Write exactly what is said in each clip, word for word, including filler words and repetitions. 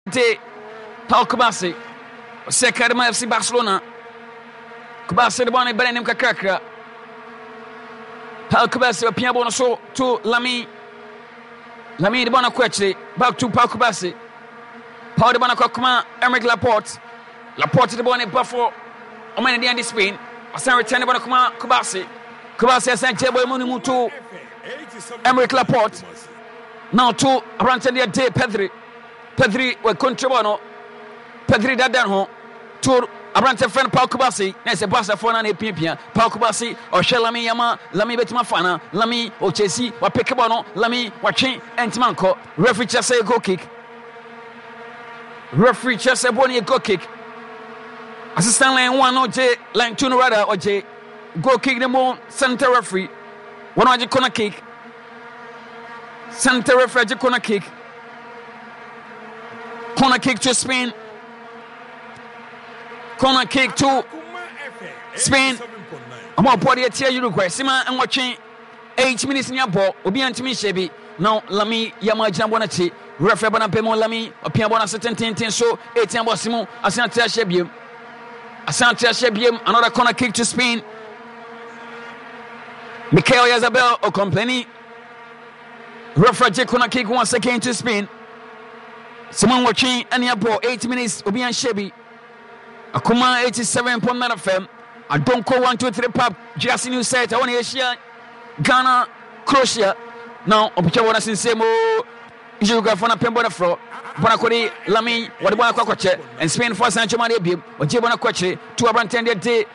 De Pau Cubarsi ɔsɛ Kadima F C Barcelona. Cubarsi de bɔɔl no ba n'anim kakrakra. Pau Cubarsi ɔpia bɔɔl no so to Lamine. Lamine de bɔɔl no kɔ akyire back to Pau Cubarsi. Pau de bɔɔl no kɔ akoma Aymeric Laporte. Laporte de bɔɔl no ba fɔ ɔma ne deɛ de Spain. Ɔsan return de bɔɔl no kɔma Cubarsi. Cubarsi asan gye bɔɔl mu no mu to Aymeric Laporte. Na ɔto aberanteɛ deɛ de Pedri. Pedri wɔ control no. Pedri dada ho to aberante fɛn no Pau Kubasi na ɛsɛ Barcafoɔ no na ɛpiapia Pau Kubasi ɔhwɛ Lamine Yamal. Lamine bɛtumi afa no. Lamine ɔkyɛsi wapeke bɔ no. Lamine watwe ɛntumi ankɔ. Referee kyerɛ sɛ goal kick. Referee kyerɛ sɛ bɔ no yɛ goal kick. Assistant line one no gye line two no rather ɔgye goal kick no mu. Center referee wɔn agye corner kick. Center referee agye corner kick. Corner kick to Spain. Corner kick to Spain. Ɔmo ɔbɔ deɛ tia Uruguay. Sima nwɔtwe eight minutes ni abɔ. Obi antumi nhyɛ bi. Now Lamine Yamal gyina bɔ n'akyi. Referee bɔ n'apɛ mu. Lamine ɔpia bɔ n'ase tententen so. Etia bɔ se mu. Asan ate ahyɛ biem. Asan ate ahyɛ biem. Another corner kick to Spain. Mikel Oyarzabal ɔcomplaining. Referee gye corner kick once again to Spain. Sima nwɔtwe ɛne abɔ eight minutes obi anhyɛ bi. Akoma eighty-seven point nine F M. Adonko one two three pub Jersey New Set ɛwɔ na yɛhyia Ghana Croatia. Na ɔpɛtwa wɔn asensɛn mu. Uruguayfoɔ no apem bɔ no frɔ. Bɔ no akɔde Lamine wɔde bɔ no akɔ akɔkyɛ. And Spain foɔ asan twɛm adeɛ biem. Ɔgye bɔ no akɔ akyire. To aberanteɛ deɛ de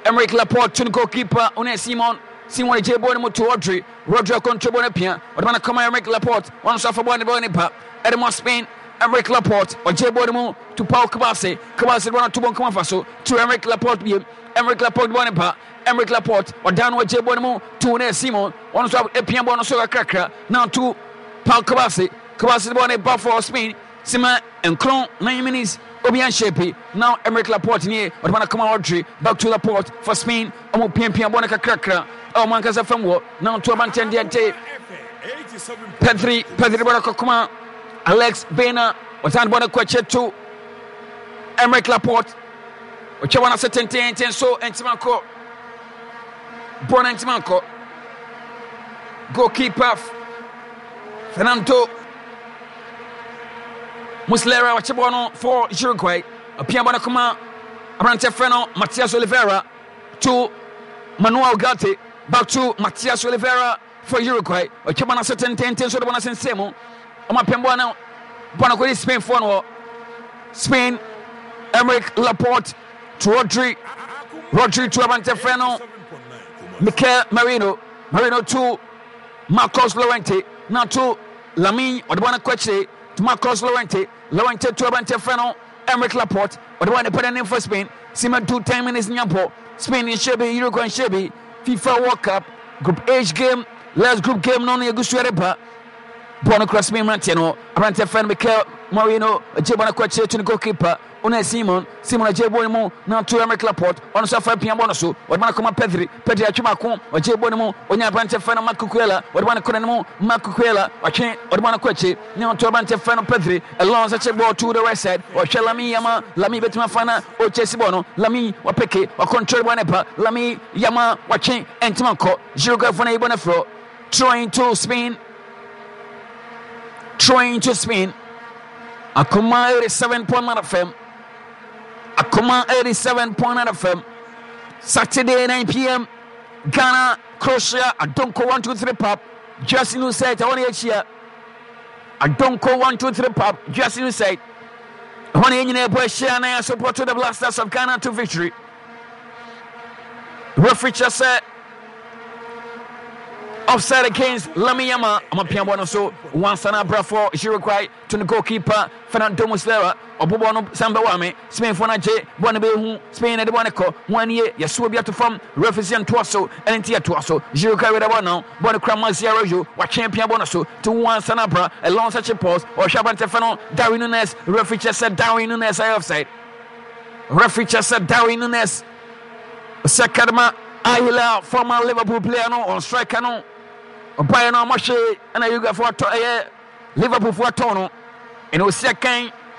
Aymeric Laporte to no goalkeeper Unai Simon. Simon gye bɔ no mu to Rodri. Rodri akɔntrol bɔ no apia. Ɔde ma no kɔma Aymeric Laporte. Wɔn nso afa bɔ no bɔ ne ba. Ɛde ma Spain. Aymeric Laporte ɔgye bɔ no mu to Pau Cubarsi. Cubarsi de bɔ no to bɔ nkɔmɔ afa so to Aymeric Laporte biem. Aymeric Laporte bɔ ne ba. Aymeric Laporte ɔdan no ɔgye bɔ no mu to Unai Simon. Wɔn nso apia bɔ no so kakrakra na to Pau Cubarsi. Cubarsi de bɔ ne ba for Spain. Sima nkron nine minutes obi anhyɛ bi. Now Aymeric Laporte nie ɔde ma no kɔma Rodri. Back to Laporte for Spain. Ɔmo piapia bɔ no kakrakra ɛwɔ ɔmo ankasa fam wɔ na ɔto abankyɛn deɛ de Pedri. Pedri bɔ no kɔkɔma Alex Baena. Ɔsan bɔ no kɔ akyire to Aymeric Laporte. Ɔtwa wɔn ase tententen so ntoma nkɔ bɔ no ntoma nkɔ. Goalkeeper Fernando Muslera ɔkye bɔ no for Uruguay. Ɔpia bɔ no kɔma aberante frɛ no Matias Oliveira to Manuel Ugarte. Back to Matias Oliveira for Uruguay. Ɔtwa bɔ no ase tententen so de bɔ no asensɛn mu. Ɔmo apɛn bɔ no bɔ no kɔdi Spain foɔ no hɔ. Spain Aymeric Laporte to Rodri. Rodri to aberante frɛ no Mikel Merino. Merino to Marcos Llorente na to Lamine ɔde bɔ no kɔ akyire to Marcos Llorente. Llorente to aberante frɛ no Aymeric Laporte ɔde bɔ ne pɛ n'anim for Spain. Sima do ten minutes nya bɔ. Spain nhyɛ bi, Uruguay nhyɛ bi. FIFA World Cup Group H game last group game no no yɛgu so ɛreba. Bɔɔl no kura Spain mmeranteɛ no. Aberanteɛ fɛ no Mikel Merino gye bɔɔl no kɔ akyire to ne goalkeeper Unai Simon. Simon agye bɔɔl no mu na to Aymeric Laporte. Ɔno nso afa apia bɔɔl no so. Ɔde ma no kɔma Pedri. Pedri atwe baako. Ɔgye bɔɔl no mu. Ɔnya aberanteɛ fɛ no Marc Cucurella. Ɔde ma no kɔ n'anim. Marc Cucurella ɔtwe. Ɔde ma no kɔ akyire na ɔto aberanteɛ fɛ no Pedri. Alonso akye bɔɔl to the right side. Ɔhwɛ Lamine Yamal. Lamine bɛtumi afa na ɔkyɛsi bɔɔl no. Lamine wapeke. Wacontrol bɔɔl no ba. Lamine Yamal watwe. Ɛntoma nkɔ. Uruguayfoɔ no ayi bɔɔl no afiri hɔ. Throwing to Spain. Throwing to Spain. Akoma eighty-seven point nine F M. Akoma eighty-seven point nine F M. Saturday nine p m. Ghana, Croatia, Adonko one two three Pub. Just new set. I want to hear Adonko one two three Pub. Just new set. I want to hear ahyia na support to the Blasters of Ghana to victory. Referee kyerɛ sɛ offside against Lamine Yamal. Ɔmo bɔ no so wansa na abra for Uruguay to the goalkeeper Fernando Muslera. Ɔbobɔ no san bɛwɔ ame Spain fo no agye bɔɔl no bɛhu Spain na de bɔɔl no kɔ ho anie yɛsoɔ bi ato fam. Referee sɛ ntoa so ɛne nti yɛtoa so. Uruguay wɛdɛ bɔɔl no bɔɔl no kura Mazia Rojo watwe pia bɔɔl no so to wansa na abra Alonso kye pause ɔhwɛ aberante fɛ no Darwin Nunez. Referee kyerɛ sɛ Darwin Nunez ayɛ offside. Referee kyerɛ sɛ Darwin Nunez sɛ kadima Al Hilal former Liverpool player no on striker no ɔbaeɛ no ɔmɔhwe ɛna Uruguayfoɔ atɔ ɛyɛ Liverpool foɔ atɔn no ɛna osi akan